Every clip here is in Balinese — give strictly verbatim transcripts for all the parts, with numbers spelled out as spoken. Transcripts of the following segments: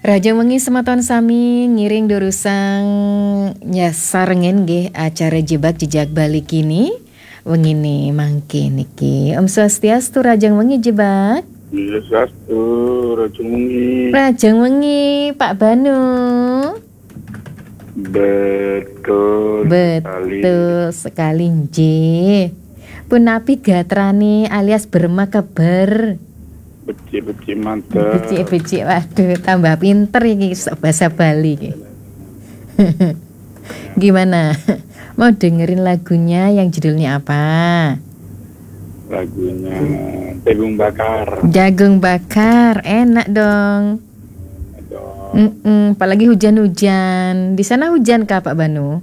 Rahajeng wengi semeton sami, ngiring durusang nyarengaken nggih acara Jebak Jejak Bali kini. Wengine mangke niki. Om Swastiastu, rahajeng wengi Jebak. Swastiastu, rahajeng wengi. Rahajeng wengi, Pak Banu. Betul sekali. Betul sekali, nggih. Punapi gatrane alias berma keber? Becik-becik mantep. Becik-becik, waduh, tambah pinter iki sok bahasa Bali iki. Gimana? Mau dengerin lagunya yang judulnya apa? Lagunya Jagung Bakar. Jagung Bakar, enak dong. Enak dong. Mm-mm, apalagi hujan-hujan. Di sana hujan kah, Pak Banu?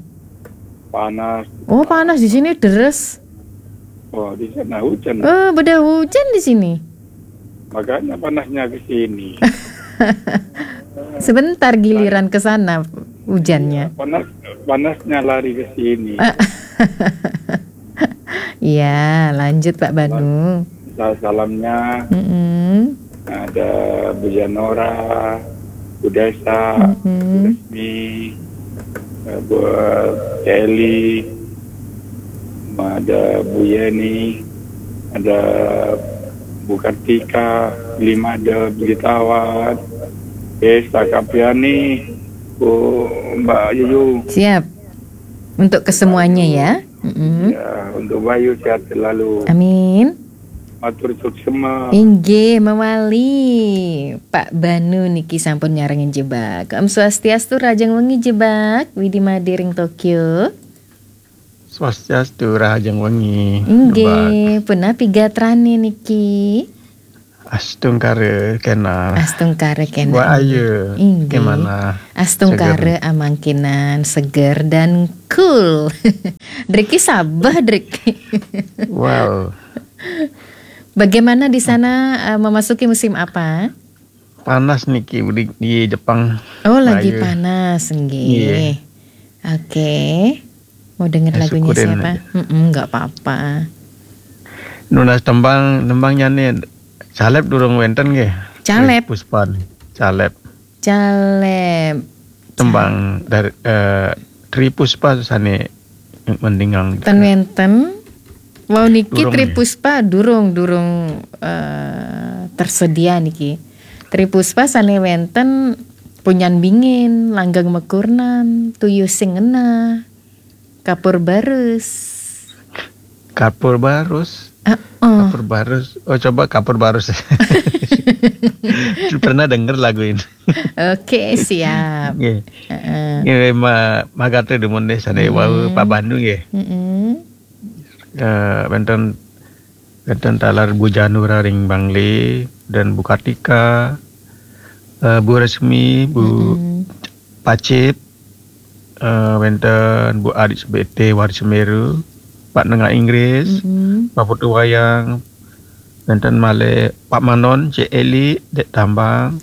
Panas. Oh, panas di sini, deres. Oh, di sana hujan. Oh, beda hujan di sini. Makanya panasnya ke sini. Sebentar giliran ke sana hujannya. Iya, panas, panasnya lari ke sini. Iya, lanjut, Pak Banu. Sa-, salamnya Mm-mm. ada Bu Janora, Bu Desa, Mm-mm. Bu Resmi, eh, Bu Celi, ada Bu Yeni, ada Bu Kartika, Limada, Bu Jitawan, Desa Kapiani, Bu Mbak Yuyu. Siap. Untuk kesemuanya ya. Mm-mm. Ya, untuk Bayu sehat selalu. Amin. Matur suksema. Inggih, mawali. Pak Banu niki sampun nyarengin Jebak. Om Swastiastu, rahajeng wengi Jebak. Widi Made ring Tokyo. Swastiastu, rahajeng wengi. Inggih, Jebak. Punapi gatrane niki? Astungkara kena. Astungkara kena, Mbak Ayu, inggih. Gimana? Astungkara seger. Amangkinan seger dan cool. Driki sabeh, Drik. Wow. Bagaimana di sana, eh, memasuki musim apa? Panas niki di, di Jepang. Oh, lagi Mbak Ayu. Panas, nggih. Iya. Oke. Mau denger lagunya siapa? Syukurin aja. Mm-mm, nggak apa-apa. Nunas tembang, tembangnya nih. Caleb durung wenten nggih. Caleb. Tri Puspa nih. Caleb. Caleb. Tembang dari, eh, Tri Puspa sane mendingan. Ten wenten. Wau niki durung Tri Puspa durung, durung, eh, tersedia niki. Tri Puspa sane wenten Punyan Bingin, Langgeng Mekurnan, Tuyuh Sing Ngenah, Kapur Barus. Kapur Barus? Heeh. Kapur Barus. Oh, coba Kapur Barus. Pernah denger lagu ini. Oke, siap. Nggih. Heeh. Nggih, ma-, mangkate dumun deh, sane wau Pak Pandu nggih. Mm-mm. Eh, wenten, wenten taler Bu Janura ring Bangli dan Bu Kartika, eh, Bu Resmi, Bu Pacip, eh, wenten Bu Adik Sebete, Waris Semeru, Pak Nengah Inggris, Pak Putu Wayang, wenten malih Pak Manon, Cik Eli, Dek Tambang,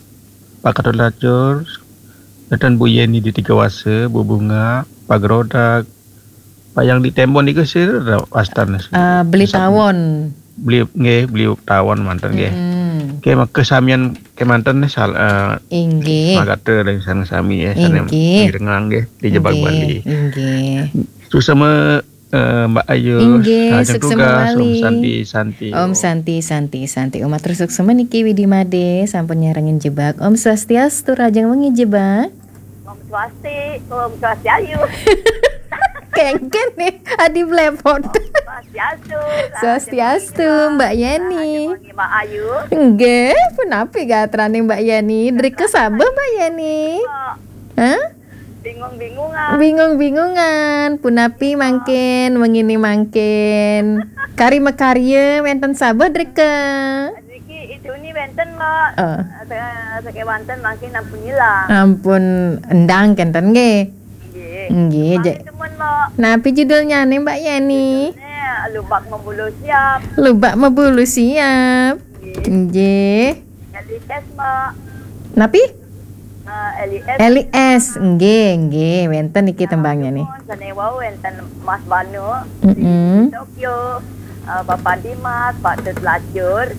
Pak Ketut Lacur, wenten Bu Yeni di Tiga Wase, Bu Bunga, Pak Gerodak, Pak yang di Tembon niku sira wastan. Eh, Beli Tawon. Beli, nggih, Beli Tawon manten nggih. Mm-mm. Nggih, maka samian kemanten nih sal-, eh, inggih. Semangat dari sana sami ya, sana inggih. Mirengang nggih di Jebak Bali. Inggih. Suksema, eh, Mbak Ayu. Inggih, suksema tugas, Om Santi, Santi. Om Santi, Santi, Santi. Om matur suksema niki Widi Made, sampun nyarengin Jebak. Om Swastiastu, rahajeng wengi Jebak. Om Swasti, Om Swastiayu. Kengken nih, adi blepot. Swastiastu. Swastiastu, Mbak Yeni. Rahajeng wengi, Mbak Ayu. Nggih, punapi gatrane Mbak Yeni? Drike sabeh, Mbak Yeni? Hah? Bingung-bingungan. Bingung-bingungan. Punapi mangkin, wengine mangkin? Kari makarya wenten sabeh drike? Niki idune wenten, Mbak. Eh. Sa-, sakewanten mangkin ampun ilang. Ampun endang kenten nggih. Nggih. Nggih, mangkin ja-, temen, Mbak. Napi judulnyane, Mbak Yeni? Judulnya Lubak Mebulu Siap. Lubak Mebulu Siap. Nggih. Nggih. Eli S, Mbak. Napi? Eh, Eli S. Eli S, nggih, nggih, wenten niki tembangnya nih. Sane wau wenten Mas Banu, mm-mm, di Tokyo, eh, Bapak Dimas, Pak Tut Lacur,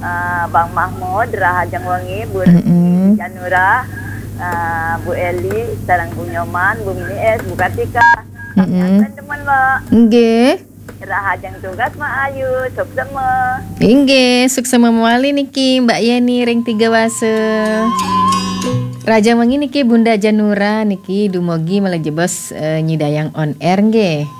eh, Bang Mahmud, Rahajeng Wengi, Bu Retno, mm-mm, Janura, Ah, Bu Eli, sareng Bu Nyoman, Bu Mies, Bu Kartika. Mm-mm. Teman-teman, Mbak. Nggih. Rahajeng tugas, Mak Ayu, suksma. Inggih, suksma mawali niki Mbak Yeni ring Tiga Wasa. Rahajeng wengi niki Bunda Janura niki dumugi malih jebos eh, nyidayang on air nggih.